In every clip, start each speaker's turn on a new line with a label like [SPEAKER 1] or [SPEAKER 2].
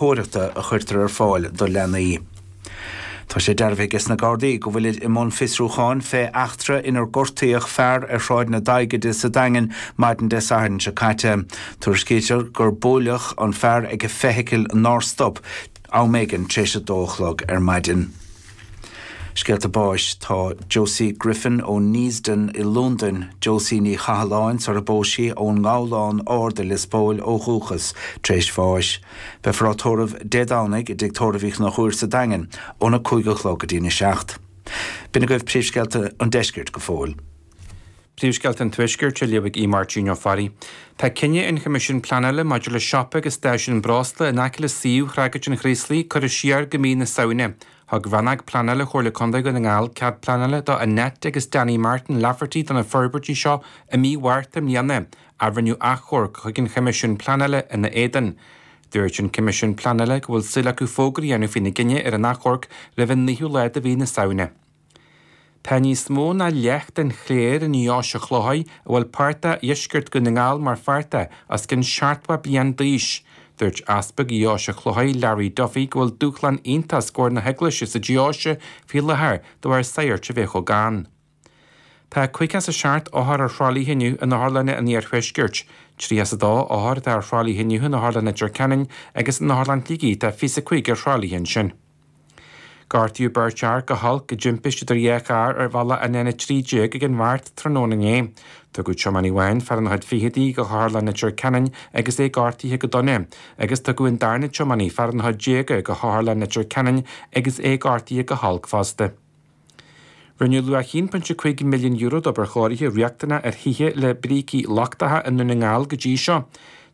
[SPEAKER 1] Léitheoireachta a chuirtear ar fáil do leanaí. Tá sé dearbhaithe aige sna Gardaí go bhfuilid i mbun fiosrúcháin fé eachtra inar gortaíodh fear ar Shráid na Daighide sa Daingean maidin Dé Sathairn seo caite. Tuairiscítear gur buaileadh an fear ag feithicil nár stop am éigin tar éis a dó a chlog ar maidin. Scéalta báis Tá Josie Griffin ó Neasden i Londain, Josie Ní Chathalláin sar a bpós sí ón nGabhlán Ard i Lios Póil ó dhúchas, tar éis bháis. Beifear á tórramh Dé Domhnaigh i dTigh Tórraimh Uí Chonchúir sa Daingean óna 5 a chlog go dtína 7. B'in agaibh príomhscéalta an deiscirt go fóill.
[SPEAKER 2] Príomhscéalta an Tuaiscirt á léamh ag Aodh Máirtín Ó Fearraigh. Tá cinneadh an Choimisiúin Pleanála maidir le siopa agus stáisiún breosla in aice le suíomh Thragóid an Chraoslaigh curtha siar go mí na Samhna. Thug Rannóg Pleanála Chomhairle Contae Dhún na nGall cead pleanála do Annette agus Danny Martin Lafferty do na forbairtí seo i mí Mhárta i mbliana ach rinneadh achomharc chuig an Choimisiún Pleanála ina éadan. Dúirt an Coimisiún Pleanála go bhfuil súil acu fógra a dhéanamh faoina gcinneadh ar an achomharc roimh an 9ú lá de mhí na Samhna. Tá níos mó ná leath den chléir i nDeoise Chlóirthigh, a bhfuil páirt de dheisceart Dhún na nGall mar pháirt de, os cionn 70 bliain d'aois. Dúirt Easpag Dheoise Chlóirthigh, Larry Duffy, go bhfuil dúshlán iontach os comhair na hEaglaise sa deoise faoi láthair de bharr sagairt a bheith chomh gann. Tá 57 othar ar thralaithe inniu in otharlanna an iarthuaiscirt. 32 othar atá ar thralaithe inniu in Otharlann Leitir Ceanainn agus in Otharlann Shligigh tá 25 ar thralaithe ansin. Gortaíodh beirt fhear go holc i dtimpiste idir dhá charr ar bhealach an N13 ag an Mhart tráthnóna inné. Tugadh tiománaí amháin, fear ina chuid fichidí, go hOtharlann Leitir Ceanainn agus é gortaithe go dona, agus tugadh an darna tiománaí, fear ina chuid déaga, go hOtharlann Leitir Ceanainn agus é gortaithe go holc fosta. Rinneadh luach €1.5 milliún d'obair chóirithe riachtanach ar thithe le brící lochtacha i nDún na nGall go dtí seo.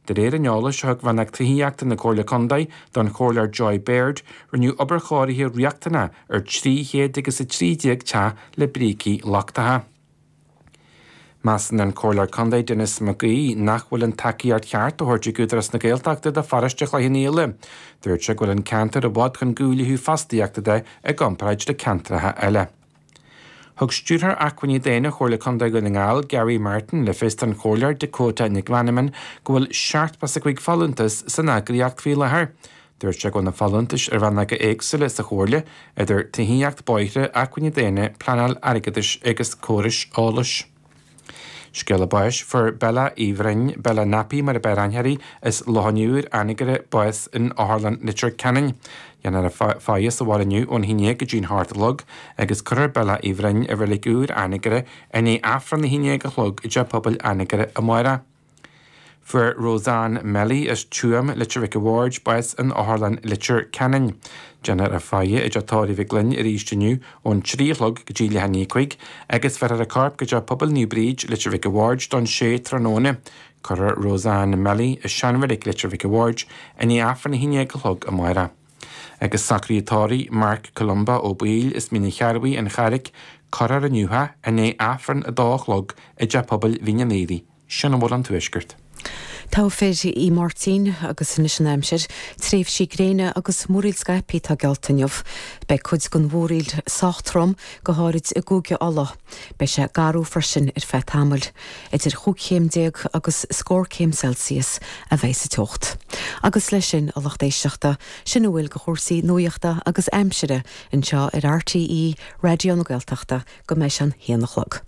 [SPEAKER 2] De réir an eolais a thug Rannóg Tithíochta na Comhairle Contae don Chomhairleoir Joy Baird, rinneadh obair chóirithe riachtanach ar 300 agus 13 teach le brící lochtacha. Measann an Comhairleoir Contae Denis Mac Aoidh nach bhfuil an tacaíocht cheart á thabhairt ag Údarás na Gaeltachta do pharóiste Chloich Cheann Fhaola. Dúirt sé go bhfuil an ceantar i bhfad chun cinn ó thaobh fostaíochta de i gcomparáid le ceantracha eile. Thug Stiúrthóir Acmhainní Daonna Chomhairle Contae Dhún na nGall, Gary Martin, le fios don Chomhairleoir Dakota Nic Mheanman go bhfuil 75 folúntas san eagraíocht faoi láthair. Dúirt sé go bhfuil na folúntais i rannóga éagsúla sa Chomhairle, idir tithíocht, bóithre, acmhainní daonna, pleanáil, airgeadais agus córais eolais. Scéala báis, Fuair Bella Uí Bhroin, Bella Nappy mar ab fhearr aithne uirthi, as Loch an Iúir, Anagaire, bás in Otharlann Leitir Ceanainn. Déanfar a faire sa bhaile inniu ón 11 go dtí'n 8 a chlog agus cuirfear Bella Uí Bhroin i Reilig Iúir, Anagaire, i ndiaidh Aifreann a 11 a chlog i dTeach Pobail Anagaire amárach. Fuair Roseanne Melly as Tuaim, Leitir Mhic a' Bhaird, bás in Otharlann Leitir Ceanainn. Déanfar a faire i dTeach Tórraimh Mhic Fhloinn arís inniu ón 3 a chlog go dtí leath i ndiaidh 5 agus bheirfear a corp go Teach Pobail Naomh Bríd, Leitir Mhic a' Bhaird don 6 tráthnóna. Cuirfear Roseanne Melly i seanreilig Leitir Mhic a' Bhaird i ndiaidh Aifreann 11 a chlog amárach. Agus socruithe tórraimh Mark Columba Ó Baoill as Mín an Chearrbhaigh, An Charraic, cuirfear inniu é i ndiaidh Aifreann 2 a chlog i dTeach Pobail Mhín an Aoraigh. Sin a bhfuil ón Tuaisceart.
[SPEAKER 3] Togha fir í Máirtín agus anois an aimsir. Tréimhsí gréine agus múraíl scaipthe atá geallta inniu. Beidh cuid den mhúraíl sách trom, go háirid i gCúige Uladh. Beidh sé garbh freisin ar feadh tamaill. Idir chúig chéim déag agus scór céim Celsius a bheidh sa teocht. Agus leis sin, a lucht éisteachta, sin a bhfuil de chúrsaí nuachta agus aimsire anseo ar RTÉ Raidió na Gaeltachta go mbeidh sé an haon a chlog.